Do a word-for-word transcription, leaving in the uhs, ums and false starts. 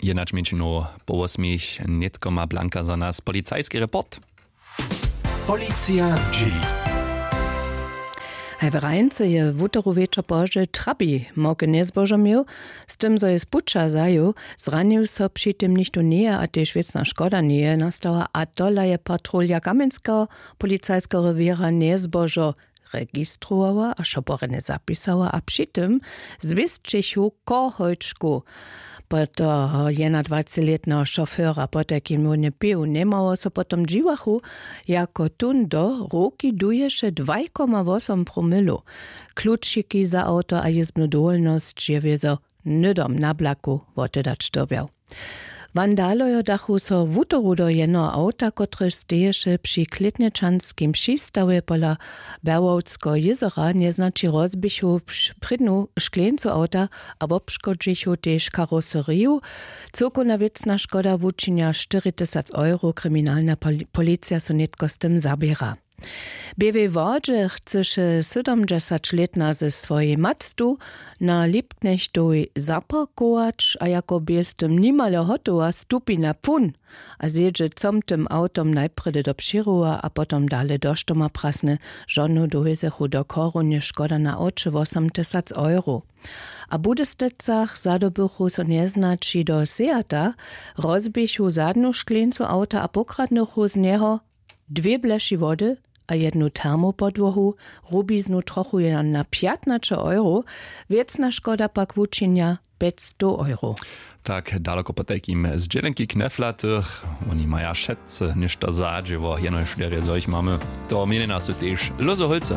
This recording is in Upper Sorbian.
Jednać mjeńšinow po wosmich nětko ma blanka za nas policajski report. Policija zdźěli. Haj w Rajnce je wutoru wječor pozdźe trabi małke njezbožo měł, z tym zo je z puća zaju, zranił so při tym nichtó njeje a tež wěcna škoda njeje nastała a tola je patrulja kamjenskeho policajskeho rewěra njezbožo registrowała a šoporjenje zapisała a při tym zwěsćechu koholčku po toho jednadwacetlětneho šofera potajkim wónje pěł njemało so potom dźiwachu, jako tón do ruki duješe dwaj koma wosom promilu. Klučiki za awto a jězbnu dowolnosć je wězo hnydom na blaku wotedać dyrbjał. Wandalojo dachu so wutoru do jenoho awta kotrež steješe při klětnječanskim přistawje pola berłowskeho jězora njeznaći rozběchu prědnu škleńcu awta a wobškodźichu tež karoseriju. Cyłkowna wěcna škoda wučinja štyri tysac euro kriminalna policija so nětko z tym zaběra. W běłej wodźe chcyše sydomdźesaćlětna ze swojej mactu na lipknechtowej zaparkować a jako bě z tym nimale hotowa stupi na pun a zjedźe comtym awtom najprjedy do přěrowa a potom dale do štoma prasny. Žonu dowězechu do chorownje škoda na awće wosom tysac euro. A w budysticach zadobychu so njeznaći do seata, rozběchu zadnu škleńcu awta a pokradnychu z njeho dwě bleši wody a jednu termopodłohu, rubiznu trochu jeno na pjatnaće euro. Wěcna škoda pak wučinja pjećstow euro. Tak daloko potajkim z dźělenki kneflatych. Woni maja wšetcy něšto zadźěło jenož derje zo jich mamy. To měnjena su tež lózy holcy.